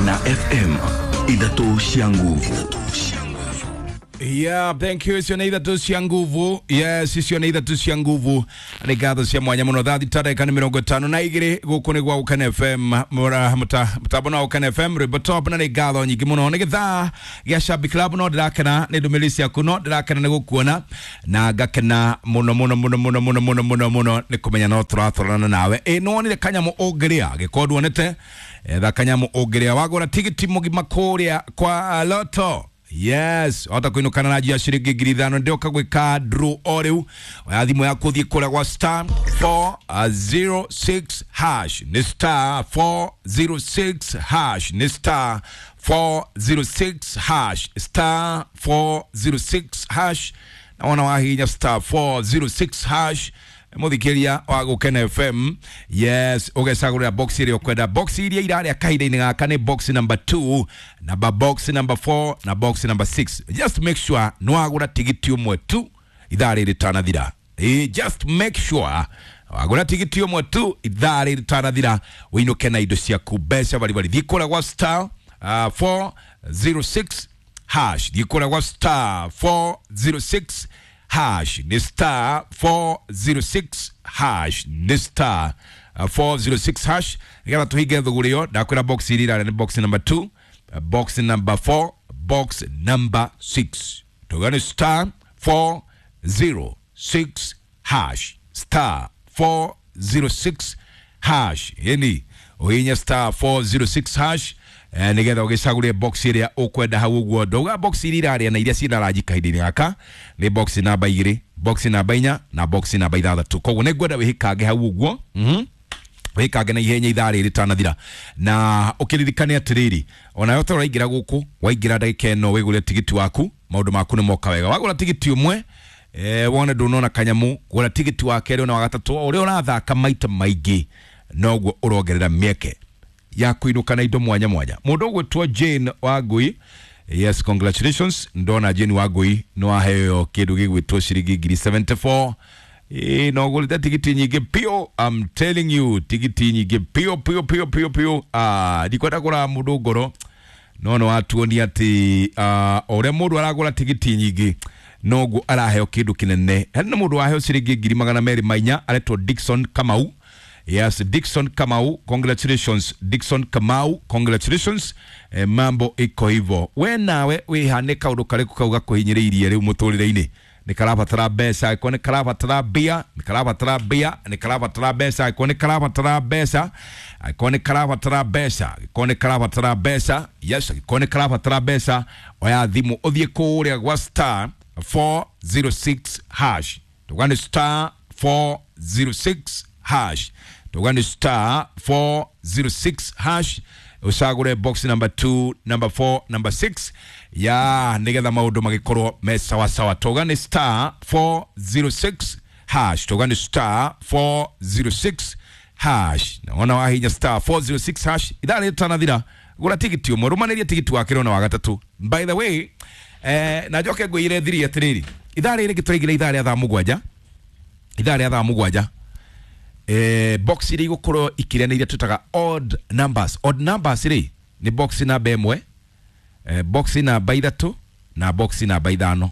Gukena FM, ithatũ cia nguvu. Yeah, thank you. Icio nĩ ithatũ cia nguvu. Yes, icio nĩ ithatũ cia nguvu. Nĩ ngatho cia mwanya mũno. Thaa thita ndagĩka nĩ 52 gũkũ nĩ gwa Gũkena FM, mũtambo na Gũkena FM rwĩmbo top, na nĩ ngatho nyingĩ mũno. Nĩ gĩthaa gĩa Shabik Club, no ndĩrakena nĩ ndũmĩrĩri ciaku, no ndĩrakena nĩ gũkuona na ngakena mũno mũno mũno mũno mũno mũno mũno mũno nĩ kũmenya no tũratwarana nawe. Ĩ nĩwonire kanyamũ ũngĩrĩa gĩkorwo nduonete, etha kanyamũ ũngĩrĩa wagũra tigiti mũgima kũrĩa kwa Lotto. Yes, wahota kuinukana na njia ciringi 5,000. Ndioka gwika draw o riu. Oya thimu yaku thiĩ kũrĩa gwa star 406 hash, nĩ star 406 hash, nĩ star 406 hash, star 406 hash. Na wona wahihinya star 406 hash, muthikiria wa Gukena FM, yes, ugecagurira box iria ukwenda. Box iria iraria kahinda-inĩ gaka nĩ box number 2, number box number 4 na box number 6. Just make sure nĩwagũra tigiti ũmwe tu ithaa rĩrĩ rĩtanathira. Just make sure wagũra tigiti ũmwe tu ithaa rĩrĩ rĩtanathira, ũinũke na indo ciaku, mbeca baribari. Thiĩ kũrĩa gwa star 406 hash, thiĩ kũrĩa gwa star 406 hash, nĩ star 406 hash, nĩ star 406 hash, nĩgetha tũhinge thũgũrĩ ĩyo. Ndakwĩra box iria irarĩa nĩ box number 2, box number 4, box number 6. Tuga nĩ star 406 hash, star 406 hash. Yani ũhihinye star 406 hash, nigetha ũgĩcagũrie box ĩrĩa ũkwenda hau ũguo. Ndauga box iria irarĩa na iria ciĩna rangi kahinda-inĩ gaka nĩ box namba 2, box namba 4 na box namba 6. Koguo nĩ ngwenda wĩhĩkange hau ũguo. Wĩkange na ihenya ithaa rĩrĩ rĩtanathira, na ũkĩririkane atĩrĩrĩ, onawe ta ũraingĩra gũkũ, waingĩra ndagĩka ĩno wĩgũre tigiti waku, maũndũ maku nĩ moka wega. Wagũra tigiti ũmwe, wone ndũnona kanyamũ, gũra tigiti wa kerĩ ona wa gatatũ. O ũrĩa ũrathaka maita maingĩ noguo ũrongerera mĩeke ya kũinũka na indo mwanya mwanya. Mũndũ ũgwĩtwo Jane Wangui, yes, congratulations. Ndona Jane Wangui nĩ waheo kĩndũ gĩgwĩtwo ciringi 74,000. Ĩĩ, no ũgũrĩte tigiti nyingĩ piũ, I'm telling you, tigiti nyingĩ piũ piũ piũ piũ piũ. Ndikwenda kũraga mũndũ ngoro, no nĩ watuonia atĩ o ũrĩa mũndũ aragũra tigiti nyingĩ noguo araheo kĩndũ kĩnene. Hena mũndũ waheo ciringi 204,000, aretwo Dickson Kamau. Yes, Dickson Kamau, congratulations. Dickson Kamau, congratulations. Mambo iko hivyo. We nawe wĩha nĩ kaũndũ karĩkũ kau gakũhinyĩrĩirie rĩu mũtũrĩre-inĩ? Nĩ karabatara mbeca, angĩkorwo nĩ karabatara mbia, nĩ karabatara mbia, nĩ karabatara mbeca, angĩkorwo nĩ karabatara mbeca, angĩkorwo nĩ karabatara mbeca, angĩkorwo nĩ karabatara mbeca, yes, angĩkorwo nĩ karabatara mbeca, oya thimũ ũthiĩ kũrĩa gwa star 406 hash. Tuga nĩ star 406 hash. Tuga nĩ star 406 hash, ũcagũre box number 2, number 4, number 6, ya nĩgetha maũndũ magĩkorwo me sawasawa. Tuga nĩ star 406 hash. Tuga nĩ star 406 hash. Naona wahinya star 406 hash ithaa rĩtanathira, gũra tigiti ũmwe, rũmanĩrie tigiti wa kerĩ ona wa gatatũ. By the way, na njoke ngwĩre thiri atĩrĩrĩ, ithaa rĩrĩ tũraingĩra ithaa rĩa thaa mũgwanja, ithaa rĩa thaa mũgwanja, box iria igũkorwo ikĩrĩa nĩ iria twĩtaga odd numbers. Odd numbers rĩ nĩ box namba 1, box namba 3 na box namba 5.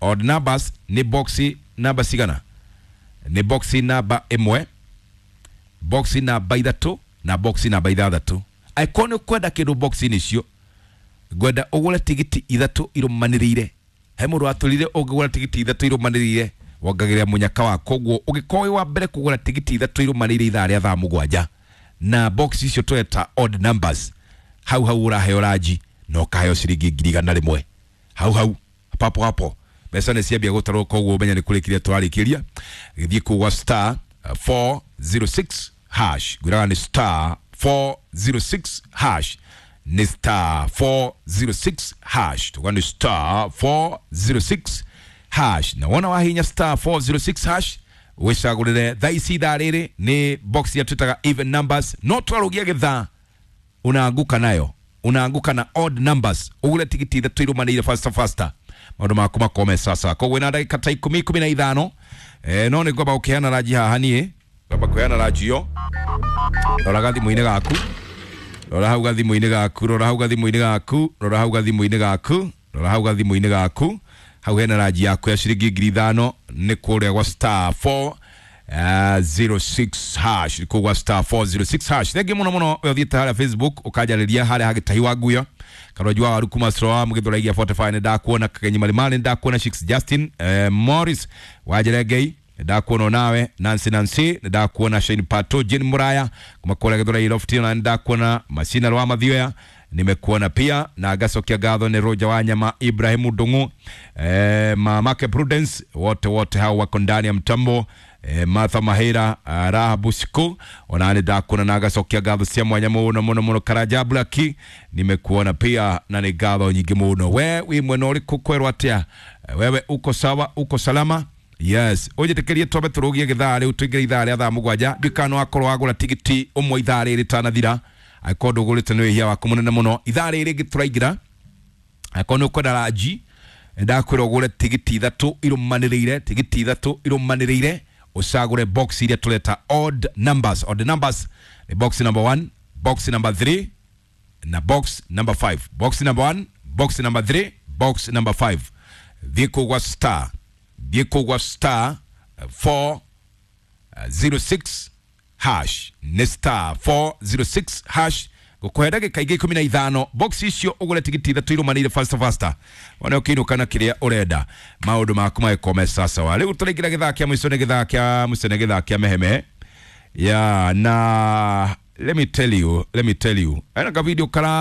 Odd numbers nĩ box namba cigana? Nĩ box namba 1, box namba 3 na box namba 6. Angĩkorwo nĩ ũkwenda kĩndũ box-inĩ icio, ngwenda ũgũre tigiti 3 irũmanĩrĩire. He mũndũ watũrire ũngĩgũra tigiti 3 irũmanĩrĩire wongagĩrĩra mũnyaka wa. Koguo ũngĩkorwo wĩ wa mbere kũgũra tigiti 3 irũmanĩrĩire ithaa rĩa thaa mũgwanja na box icio tweta odd numbers, hau hau ũraheo ranji na ũkaheo ciringi 100,000 hau hau, papo hapo. Mbeca nĩ ciambia gũtarwo, koguo ũmenye nĩ kũrĩkĩria tũrarĩkĩria. Gĩthiĩ kũu gwa star 406 hash. Ngwĩraga nĩ star 406 hash, nĩ star 406 hash. Tuga nĩ star 406 hash. Na wona wahinya star 406 hash, wĩcagũrĩre thaa ici ithaa rĩrĩ nĩ box ya twĩtaga even numbers, no twarũgia gĩthaa unaanguka nayo, unaanguka na odd numbers. Ũgũre tigiti 3 irũmanĩire faster faster, maũndũ maku makome sasa. Koguo wĩna ndagĩka ta 10, 15, no nĩ ngwamba gũkĩheana ranji haha niĩ, ngwamba kũheana ranji ĩyo. Roraga thimũ-inĩ gaku. Rora hau gathimũ-inĩ gaku, rora hau gathimũ-inĩ gaku, rora hau gathimũ-inĩ gaku, rora hau gathimũ-inĩ gaku. Hau hena ranji yaku ya ciringi 5,000 nĩ kũrĩa gwa star 4 06 hash, kũu gwa star 406 hash. Thengi mũno mũno we ũthiĩte harĩa Facebook ũkanjarĩria harĩa hagĩtahi wa nguyo Karonji wa waru kuma Sroa Mugithũraigia 45 nĩ ndakuona, Kagenyi Marimari nĩ ndakuona, Shix Justin Morris Wanjerengei ndakuona nawe, Nancy Nancy ndakuona, Shane Pato Jane Muraya kuma kũrĩa Gĩthũrai Lofty na ndakuona, Masina Rwa Mathioya nimekuona pia, na ngacokia ngatho nĩ Roger Wanyama, Ibrahimu Ndung'u, mamake Prudence, wote wote hao wako ndani ya mtambo, Martha Mahira, Rahabu Siku ona nĩ ndakuona na ngacokia ngatho cia mwanya mũno mũno mũno. Karanja Blaki nimekuona pia na nĩ ngatho nyingĩ mũno. We wĩ mwena ũrĩkũ kwerwo atĩa? Wewe uko sawa, uko salama? Yes, unjitikirie twambe turugie githaa riu tuingire ithaa ria thaa 7. Ndikano akorwo wagura tigiti umwe ithaa riri tanathira, angĩkorwo ndũgũrĩte nĩ wĩhia waku mũnene mũno. Ithaa rĩrĩ rĩngĩ tũraingĩra, angĩkorwo nĩ ũkwenda ranji, ndakwĩra ũgũre tigiti ithatũ irũmanĩrĩire, tigiti ithatũ irũmanĩrĩire, ũcagũre box iria tũreta odd numbers. Odd numbers ni box number 1, box number 3 na box number 5. Box number 1, box number 3, box number 5. Thiĩ kũu gwa star, thiĩ kũu gwa star 406 hash, nĩ star 406 hash. Ngũkũhe ndagĩka ingĩ 15, box icio ũgũre tigiti ithatũ irũmanĩire faster faster, one ũkĩinũka na kĩrĩa ũrenda, maũndũ maku magĩkorwo me sawa. Rĩu tũraingĩra gĩthaa kĩa mũico, nĩ gĩthaa kĩa mũico, nĩ gĩthaa kĩa mehemehe ya na let me tell you, let me tell you, ena ka video kara.